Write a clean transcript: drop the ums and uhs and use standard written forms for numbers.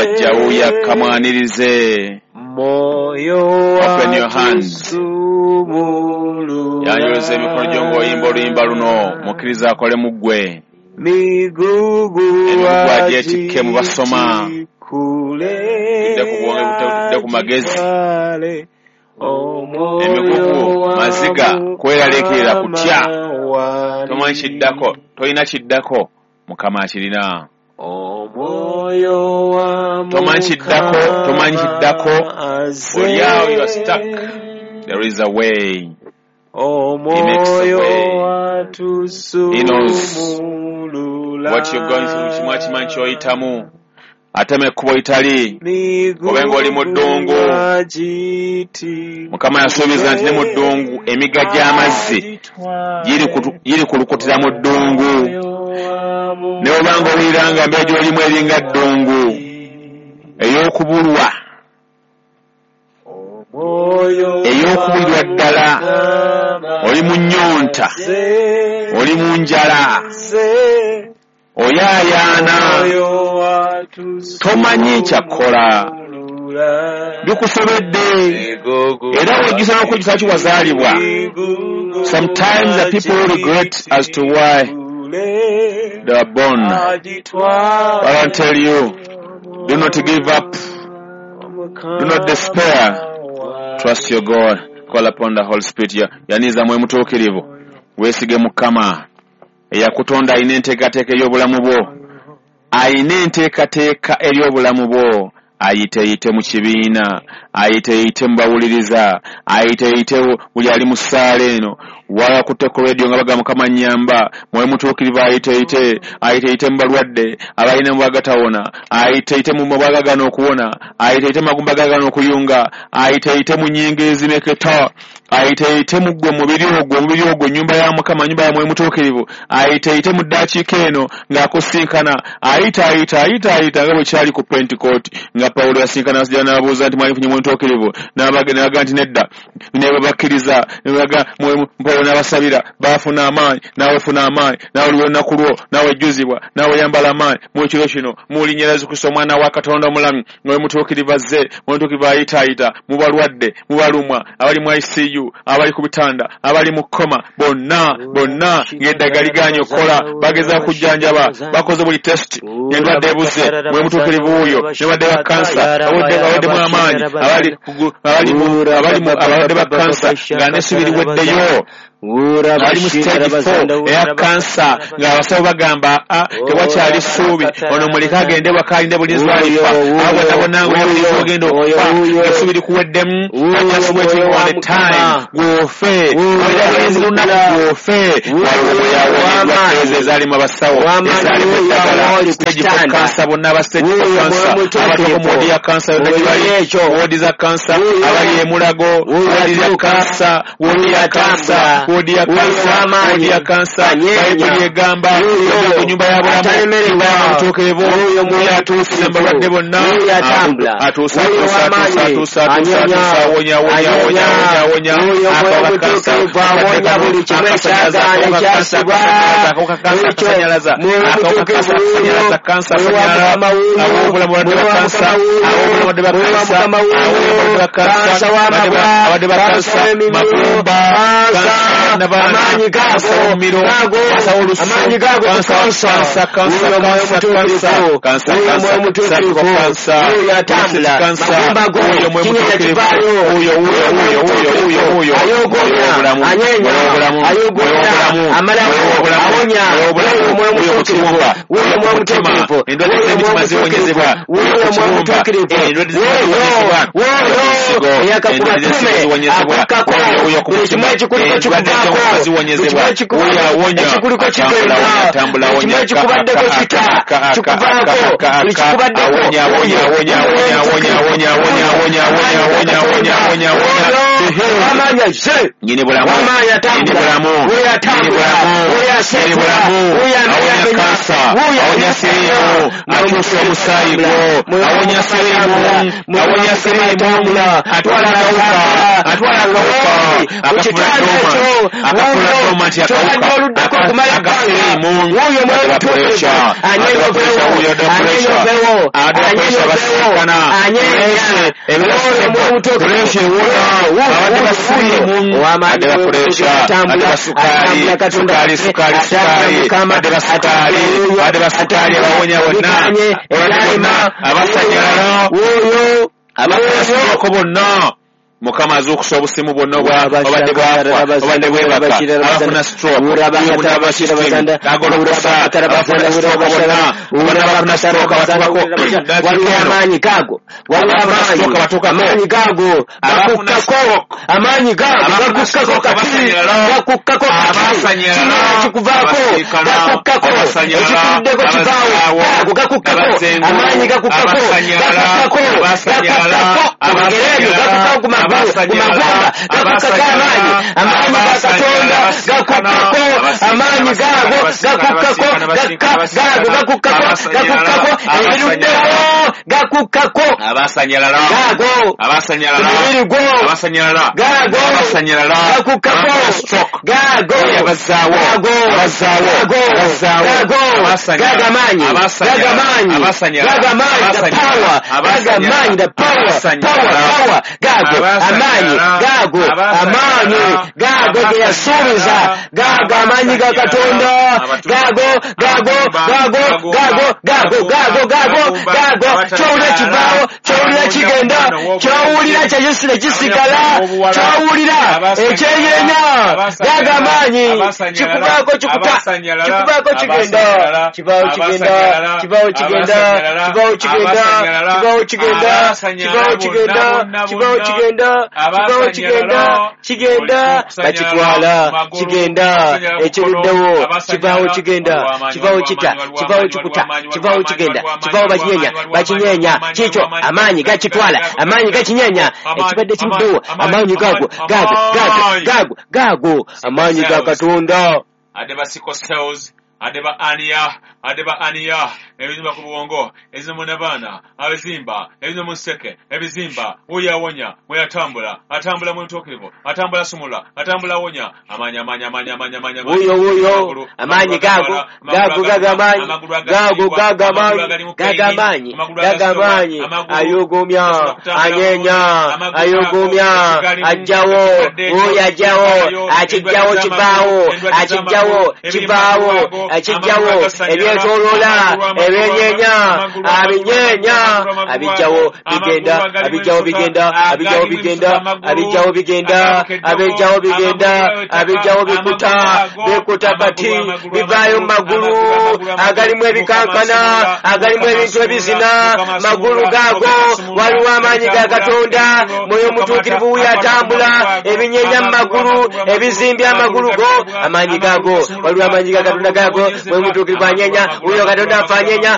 Ajja wuuyo akamwanirize. Open your hands. Yanjuluza emikono gyo ng'oyimba oluyimba luno, mukkiriza akole mu ggwe. Emigugu agyetikke mu basoma. Tudde ku bwonge, tudde ku magezi. Emigugu, maziga, kweraliikirira, kutya. Tomanyi kiddako, tolina kiddako, Mukama akirina. Tomanyi kiddako, tomanyi kiddako. Oli awo, you are stuck. There is a way. He makes a way. He knows what you're going through. Kimu akimanyi ky'oyitamu. Atema ekkubo litali, obe ng'oli mu ddungu. Mukama yasuubiza nti ne mu ddungu emigga gy'amazzi giri kulukutira mu ddungu. Ne bw'oba ng'owulira nga embeera gy'olimu eringa ddungu ey'okubulwa, ey'okubulirwa ddala, oli mu nnyonta, oli mu njala, oyaayaana, tomanyi kyakkola, bikusobedde, era wejjusa n'okwejjusa ki wazaalibwa. Sometimes the people regret as to why they were born. But I tell you, do not give up, do not despair. Trust your God. Call upon the Holy Spirit. Yaniza mwe mutuukirivu, weesige Mukama eyakutonda, alina enteekateeka ey'obulamu bwo, alina enteekateeka ery'obulamu bwo. Ayiteyite mu kibiina, ayiteyite mu bawuliriza, ayiteyite buli ali mu ssaala eno, wakutte ku radio nga bagamba Mukama nnyamba. Mwoyo mutuukirivu ayiteyite, ayiteyite mu balwadde abalina mu bagatawona, ayiteyite mu mabwa gagana okuwona, ayiteyite mu magumba gagana okuyunga, ayiteyite mu nnyingo ezimeketa, ayiteyite mu ggwe mubiri ogwo, omubiri ogwo nnyumba ya Mukama, nnyumba ya Mwoyo Mutuukirivu. Ayiteyite mu ddakiika eno ng'akusinkana, ayita ayita ayita ayita nga bwe kyali ku Pentecost, nga Pawulo yasinkana abasajja n'ababuuza nti mwali mufunye Mwoyo Mutuukirivu, n'abaga nti nedda, ne babakkiriza, ne baga Pawulo n'abasabira, baafuna amaanyi, naawe funa amaanyi, naawe oliwo olunaku lwo, naawe ejjuzibwa, naawe yambala amaanyi mu kiro kino, mu linnya lya Yesu Kristo omwana wa Katonda omulamu. Mwoyo Mutuukirivu azze, Mwoyo Mutuukirivu ayitaayita mu balwadde, mu balumwa, abali mu ICU, abali ku bitanda, abali mu koma, bonna bonna ng'eddagala ligaanye okukola, bagezaako kujjanjaba, bakoze buli test, endwadde ebuze. Mwoyo Mutuukirivu wuuyo, ne badde ba kansa abaweddemu amaanyi, abalwadde ba kansa nga n'essuubi liweddeyo, ali mu stage 4 eya kansa, ng'abasawo bagamba tewakyali ssuubi, ono muleke agende waka alinde bulinzi bw'alifa, abo bonna bonna nga ogenda okufa, essuubi likuweddemu. Just waiting on the time gw'ofe, olinze lunaku gw'ofe. Waliwo yawonyeddwa ezo ezaalimu abasawo, ezaalimu eddagala, stage 4 kansa, bonna aba stage 4 kansa, abatuuka mu wodi ya kansa yonna gye bali, wodi za kansa, abali e Mulago, wodi ya kansa, wodi ya kansa, wodi ya kansa, wodi ya kansa. Bayibuli egamba ku nyumba ya bulamu, nyumba ya mutuukirivu, oyo atuusa balwadde bonna, atuusa atuusa atuusa atuusa atuusa atuusa, awonya awonya awonya awonya awonya, akawuka kansa, akasanyalaza, akawuka kansa, akawuka kansa, akasanyalaza, akawuka kansa, akasanyalaza, kansa, asanyalala, ab'obulamu balwadde ba kansa, ab'obulamu balwadde ba kansa, ab'obulamu balwadde ba kansa, abalwadde ba kansa, magumba, kansa, amaanyi gago, amaanyi gago kansa, kansa, kansa, kansa, kansa, oyo atambula, magumba go, kinyinya kivaayo, oyo oyo oyo oyo oyo ayogonya, anyenya, ayogonya, amalako, awonya, oyo Mwoyo Mutuukirivu, oyo Mwoyo Mutuukirivu, endwadde z'emitima ziwonyezebwa, oyo Mwoyo Mutuukirivu, endwadde ziwonyezebwa, oyo eyakakuba tume, akukkako, buli kimu ekikuliko kikuvaako, buli kimu ekikuliko kigenda, buli kimu ekikubaddeko kita, kikuvaako, buli kikubaddeko, amaanyi azze, amaanyi atambula, oyo atambula, oyo aseetula, oyo awonya kansa, awonya siriimu, akyusa omusaayi gwo, awonya siriimu, awonya siriimu, atwala akawuka, atwala akawuka, akafuna doma, Kyobadde oluddako okumala ebbanga, wuuyo Mwoyo Mutuukirivu anyeenya oveewo, anyeenya oveewo, anyeenya. Wuuyo Mwoyo Mutuukirivu, wuuyo ow'amaanyi atambula, atambula Katonda atambula, Mukama atambula, bikanye ebyalema. Wuuyo abasanyalako bonna, Mukama azuukusa obusimu bwonna obadde bwafa, obadde bwebaka, abafuna stroke, agolokosa abafuna stroke bonna, abafuna stroke abatukako. Waliwo amaanyi gaago, waliwo amaanyi gaago gakukkako, amaanyi gaago gakukkako kati, gakukkako kati, kino kikuvaako, gakukkako, ekikuddeko kivaawo, gaago gakukkako, amaanyi gakukkako, gakukkako, gakukkako, kubigere ebyo gakukkako, ku magumba gakukkako amaanyi, amaanyi ga Katonda gakukkako, amaanyi gaago gakukkako, gaago gakukkako, gakukkako, ebiruddewo gakukkako, gaago ku mubiri gwo, gaago gakukkako, gaago, gaago, gaago, gaago, gaago amaanyi, gaago amaanyi, gaago amaanyi, the power, gaago amaanyi, the power, power, power, gaago amaanyi, gaago amaanyi, gaago ge yasuubiza, gaago amaanyi ga Katonda, gaago, gaago, gaago, gaago, gaago, gaago, gaago, gaago. Kyowulira kivaawo, kyowulira kigenda, kyowulira kyekisire kisigala, kyowulira ekyenyenya, gaago amaanyi, kikuvaako kikuta, kikuvaako kigenda, kivaawo kigenda, kivaawo kigenda, kivaawo kigenda, kivaawo kigenda, kivaawo kigenda, kivaawo kigenda, kivaawo kigenda, kigenda, bakitwala, kigenda, ekiruddewo kivaawo kigenda, kivaawo kita, kivaawo kikuta, kivaawo kigenda, kivaawo bakinyenya, bakinyenya, kikyo amaanyi gakitwala, amaanyi gakinyenya, ekibadde kiruddewo, amaanyi gaago, gaago, gaago, gaago, gaago, amaanyi ga Katonda. Adeba aniya, adeba aniya, ebizimba ku bwongo, ebizimba n'abaana, abizimba, ebizimba mu nseke, ebizimba, wuyo awonya, mwe atambula, atambula mu ntuukirivu, atambula sumula, atambula awonya, amaanyi, amaanyi, amaanyi, amaanyi, amaanyi, wuyo, wuyo, amaanyi gaago, gaago, gaago amaanyi, gaago, gaago amaanyi, gaago amaanyi, gaago amaanyi, ayugumya, anyenya, ayugumya, ajjawo, wuyo ajjawo, akijjawo kivaawo, akijjawo kivaawo, akijjawo ebyetoloola, ebyenyenya, abinyenya, abijjawo bigenda, abijjawo bigenda, abijjawo bigenda, abijjawo bigenda, abijjawo bigenda, abijjawo bikuta, bikuta kati bivaayo mu magulu agalimu ebikankana, agalimu ebintu ebizina, magulu gaago waliwo amaanyi ga Katonda. Mwoyo Mutuukirivu wuyo atambula, ebinyenya mu magulu, ebizimbya amagulu go, amaanyi gaago, waliwo amaanyi ga Katonda gaago, Mwoyo Mutuukirivu anyenya, wuyo Katonda afa anyenya.